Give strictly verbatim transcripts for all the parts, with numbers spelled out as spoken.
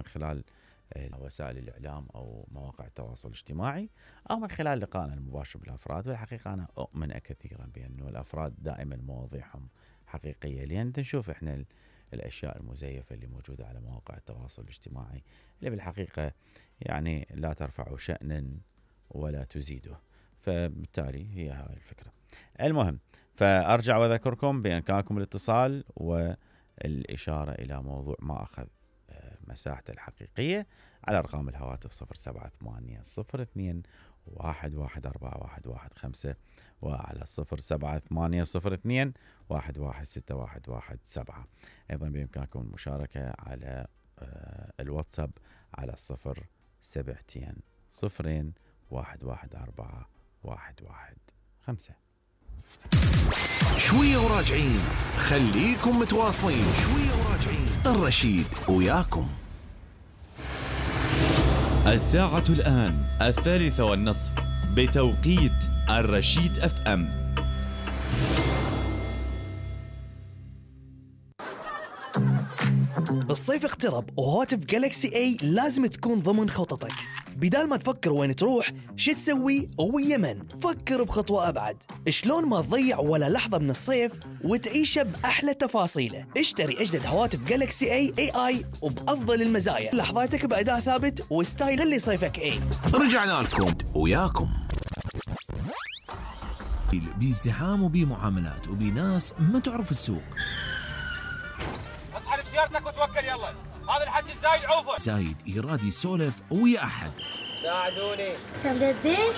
خلال وسائل الإعلام أو مواقع التواصل الاجتماعي أو من خلال لقائنا المباشر بالأفراد. والحقيقة أنا أؤمن كثيرا بأنه الأفراد دائما مواضيعهم حقيقية، لأن نشوف إحنا الأشياء المزيفة اللي موجودة على مواقع التواصل الاجتماعي اللي بالحقيقة يعني لا ترفع شأنا ولا تزيده. فبالتالي هي هاي الفكرة. المهم، فأرجع وأذكركم بإمكانكم الاتصال والإشارة إلى موضوع ما أخذ مساحته الحقيقية على أرقام الهواتف صفر سبعة ثمانية صفر اثنين واحد واحد أربعة واحد واحد خمسة وعلى صفر سبعة ثمانية صفر اثنين واحد واحد ستة واحد واحد سبعة. أيضا بإمكانكم المشاركة على الواتساب على صفر سبعتين صفرين واحد واحد أربعة واحد واحد خمسة. شوية وراجعين، خليكم متواصلين. شوية وراجعين، الرشيد وياكم. الساعة الآن الثالثة والنصف بتوقيت الرشيد اف ام. الصيف اقترب وهواتف جالكسي اي لازم تكون ضمن خططك. بدال ما تفكر وين تروح شو تسوي ويمن، فكر بخطوة أبعد. شلون ما تضيع ولا لحظة من الصيف وتعيشه بأحلى تفاصيله. اشتري أجدد هواتف جالكسي اي اي اي وبأفضل المزايا، لحظاتك بأداء ثابت وستايل اللي صيفك اي. رجعنا لكم وياكم. بازدحام وبمعاملات وبناس ما تعرف السوق. اصحى بسيارتك وتوكل يلا، هذا الحكي الزايد عوفه. زايد يراد يسولف ويا أحد. ساعدوني. تمددين؟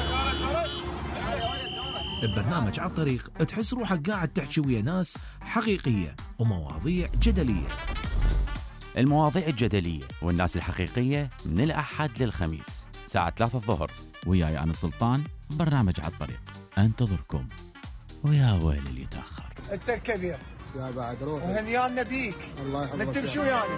ببرنامج على الطريق تحس روحك قاعد تحكي ويا ناس حقيقية ومواضيع جدلية. المواضيع الجدلية والناس الحقيقية من الأحد للخميس ساعة ثلاثة الظهر، وياي أنا سلطان. برنامج على الطريق انتظركم، ويا ويل اللي يتأخر. انت الكبير يا بعد روح وهنيانا بيك. الله يحفظك. نكتب شو يعني؟